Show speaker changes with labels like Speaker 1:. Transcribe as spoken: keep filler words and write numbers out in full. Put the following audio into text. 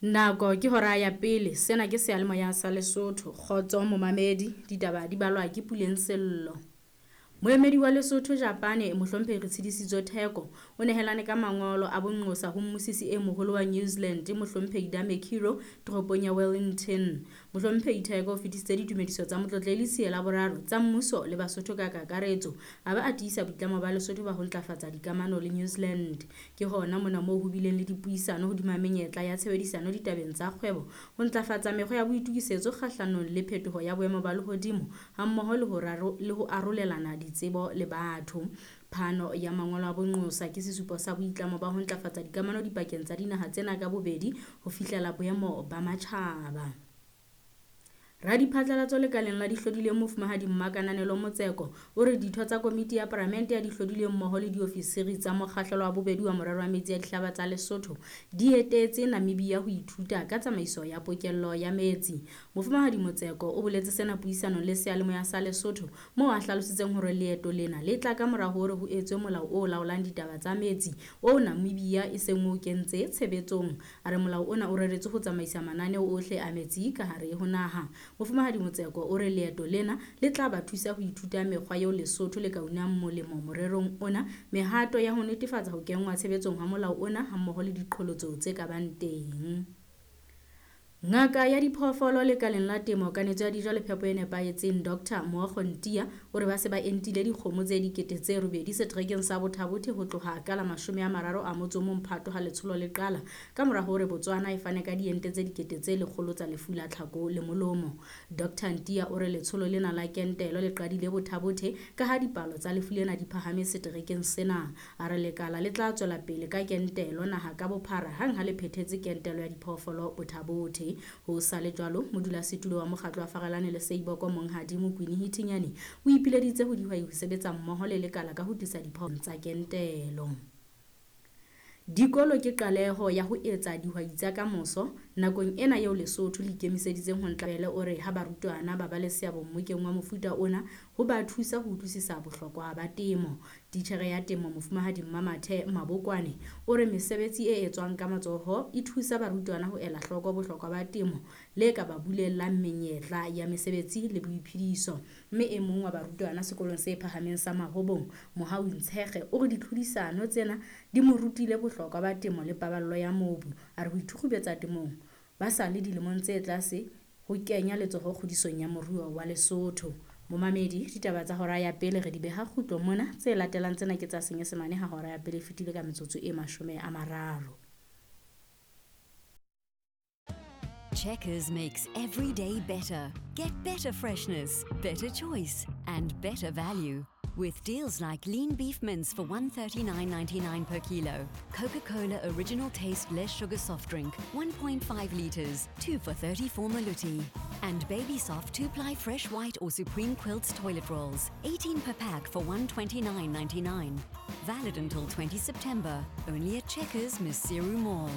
Speaker 1: Nako ke hora ya pele, sena ke seyalemoya sa Lesotho. Kgotso momamedi, ditaba di balwa ke Puleng Sello. Moemedi wa Lesotho Japane, Mohlomphehi Retshidisitso Theko, o nehelane ka mangolo a bonqosa ho mmusisi e moholo wa New Zealand, Mohlomphehi Dame Kiro, toropong ya Wellington. Mohlomphehi Theko o fetisitse ditumediso tsa Motlotlehli Siela Boraro tsa mmuso le Basotho ka kakaretso, a ba a tiisa boitlamo ba Lesotho ba ho ntlafatsa dikamano le New Zealand. Ke hona mona moo ho bileng le dipuisano hodima menyetla ya tshebedisano ditabeng tsa kgwebo, ho ntlafatsa mekgwa ya boitokisetso kgahlanong le phetoho ya boemo ba lehodimo, hammoho le ho raro, le ho arolelana ditsebo le batho. Phano ya mangolo a bonqosa ke sesupo sa boitlamo ba ho ntlafatsa dikamano dipakeng tsa dinaha tsena ka bobedi ho fihlela boemo ba matjhaba. Radiphatlalatso lekaleng la dihlodileng Mofumahadi Mmakananelo Motseko o re ditho tsa komiti ya palamente ya dihlodileng mmoho le diofisiri tsa mokgahlelo wa bobedi wa morero wa metsi a dihlaba tsa Lesotho di etetse Namibia ho ithuta ka tsamaiso ya pokello ya metsi. Mofumahadi Motseko o boletse sena puisanong le seyalemoya sa Lesotho moo a hlalositseng hore leeto lena le tla ka mora hore ho etswe molao o laolang ditaba tsa metsi oo Namibia e seng o kentse tshebetsong. A re molao ona o reretswe ho tsamaisa mananeo ohle a metsi ka hare ho naha. Mofumahadi Motseko o re leeto lena le tla ba thusa ho ithuta mekgwa eo Lesotho le ka unang molemo morerong ona, mehato ya ho netefatsa ho kenngwa tshebetsong ha molao ona hammoho le diqholotso tse ka bang teng. Ngaka ya diphoofolo lekaleng la temo, kanetso ya dijo le phepo e nepahetseng, Doctor Mookgo Ntia o re ba se ba entile dikgomo tse dikete tse robedi seterekeng sa Botha-Bothe ho tloha ka la mashome a mararo a motso o mong Phato ha letsholo le qala, ka mora hore Botswana e fane ka diente tse dikete tse lekgolo tsa lefu la tlhako le molomo. Doctor Ntia o re letsholo lena la kentelo le qadile Botha-Bothe ka ha dipalo tsa lefu lena di phahame seterekeng sena. A re lekala le tla tswela pele ka kentelo naha ka bophara hang ha le phethetse kentelo ya diphoofolo Botha-Bothe. Ho sa le jwalo, modulasetulo wa mokgatlo wa Farelane le Seiboko Monghadi Mokwini Hithinyane o ipileditse ho dihwai ho sebetsa mmoho le lekala ka ho tlisa diphoofolo tsa kentelo. Dikolo ke qaleho ya ho etsa dihwai tsa kamoso nakong ena eo Lesotho le ikemiseditseng ho ntlabele. O re ha barutwana ba ba le seabo mmokeng wa mofuta ona ho ba thusa ho utlwisisa bohlokwa ba temo. Titjhere ya temo Mofumahadi Mmamathe Mabokwane o re mesebetsi e etswang ka matsoho e thusa barutwana ho ela hloko bohlokwa ba temo le ka ba bulelang menyetla ya mesebetsi le boiphediso. Mme e mong wa barutwana sekolong se phahameng sa Mahobong, Mohau Ntshege, o re ditlhodisano tsena di mo rutile bohlokwa ba temo le paballo ya mobu. A re ho ithukgubetsa temong ba sa le dilemong tse tlase ho kenya letsoho kgodisong ya moruo wa Lesotho. Momamedi, ditaba tsa hora ya pele re di beha kgutlo mona. Tse latelang tsena ke tsa Senyesemane ha hora ya pele e fetile ka metsotso e mashome a mararo.
Speaker 2: Checkers makes every day better. Get better freshness, better choice, and better value. With deals like lean beef mince for one thirty-nine ninety-nine per kilo, Coca-Cola original taste less sugar soft drink, one point five litres, two for thirty-four maluti, and Baby Soft two-ply fresh white or Supreme Quilts toilet rolls, eighteen per pack for one twenty-nine ninety-nine. Valid until twenty September, only at Checkers Maseru Mall.